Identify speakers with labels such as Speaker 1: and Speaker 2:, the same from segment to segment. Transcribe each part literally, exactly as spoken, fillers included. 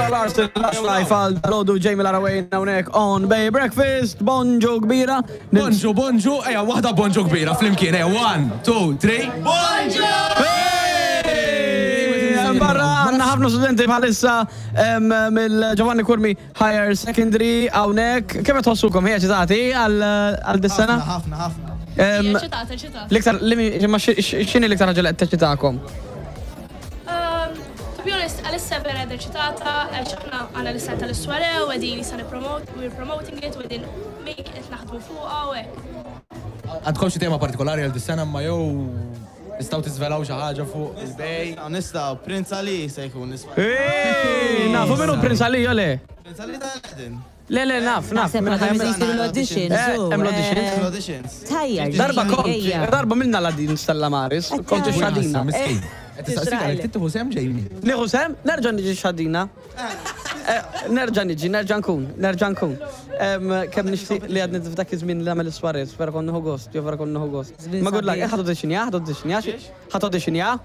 Speaker 1: Zara Larsson, Lush Life għal dalgħodu, Jamie Laraway hawnhekk on Bay Breakfast, bonġu kbira.
Speaker 2: Bonġu, bonġu, eja, waħda bonġu kbira, flimkien, eja, one, two, three.
Speaker 1: Hey! Barra għandna ħafna studenti bħalissa em, mill-Giovanni Curmi Higher Secondary hawnhekk. Kemm tħossukom ħija eċitati għal għal dis-sena?
Speaker 3: Ħafna, ħafna.
Speaker 1: Em,
Speaker 4: Eċitata, eċitata.
Speaker 1: L-iktar, li ma x'inhi l-iktar ħaġa li qed teċitakom?
Speaker 4: Um, to be honest, għalissa vera eċitata, għax aħna għandna l-istan tal-soirée, u qegħdin issa nipromote, we're promoting it, u qegħdin make it naħdmu fuqha u hekk.
Speaker 2: Għandkom xi tema partikolari għal dis-sena ma jew nistgħu tiżvelaw xi ħaġa fuq il-Bay?
Speaker 3: Nistgħu, Prince Ali se jkun nisma.
Speaker 1: Ej, nafu min hu Prince Ali, jew le?
Speaker 3: Prince Ali ta' Aladdin.
Speaker 1: Le, le, naf, naf.
Speaker 5: Naħseb
Speaker 1: Minn
Speaker 5: għadhom
Speaker 1: ħajja-
Speaker 5: isiru l-auditions.
Speaker 1: Eh,
Speaker 5: u,
Speaker 1: hemm l-auditions?
Speaker 5: eh,
Speaker 3: L-auditions.
Speaker 5: Tajjar.
Speaker 1: Darba kont,
Speaker 5: ejja.
Speaker 1: darba minna la din Stella Maris, kont ix-xadina.
Speaker 2: Miskin. Qed tistaqsik għalek tieħu sehem Jamie.
Speaker 1: Nieħu sehem, nerġa' niġi xadina. Eh, Nerġa' niġi, nerġa' nkun, nerġa' nkun. Em, Kemm nixtieq li għadni f'dak iż-żmien li nagħmel is-soirée, vera kont nieħu gost, jew vera kont nieħu gost.
Speaker 5: Żmien
Speaker 1: Ma good luck,
Speaker 5: sabiħ.
Speaker 1: eh, ħa audition ja, ħa audition ja, ħa audition ja.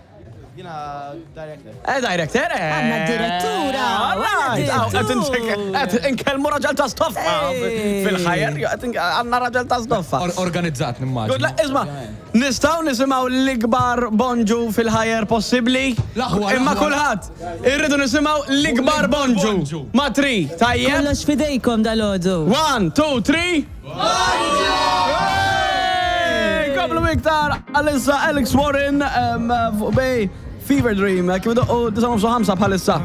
Speaker 3: Jiena director.
Speaker 1: Eh, director, eh.
Speaker 5: Għandna direttura,
Speaker 1: All right.
Speaker 5: għandna
Speaker 1: Aw, qed
Speaker 5: direttur.
Speaker 1: qed inkellmu raġel ta' stoffa
Speaker 5: Ej.
Speaker 1: fil-ħajja, qed ink- għandna raġel ta' stoffa.
Speaker 2: Or- Organizzat
Speaker 1: Good
Speaker 2: nimmaġina.
Speaker 1: luck, isma', nistgħu nisimgħu l-ikbar bonġu fil-ħajja possibbli?
Speaker 2: L-aħwa,
Speaker 1: Imma
Speaker 2: l-aħwa.
Speaker 1: kulħadd, irridu nisimgħu l-ikbar bonġu.
Speaker 2: Bonġu.
Speaker 1: Ma three, tajjeb?
Speaker 5: Kollox fidejkom dalgħodu.
Speaker 1: One, two, three. Hey! Komplu iktar għalissa Alex Warren um, fuq Bay Fever Dream. Kif idoqqu disgħa u ħamsa bħalissa.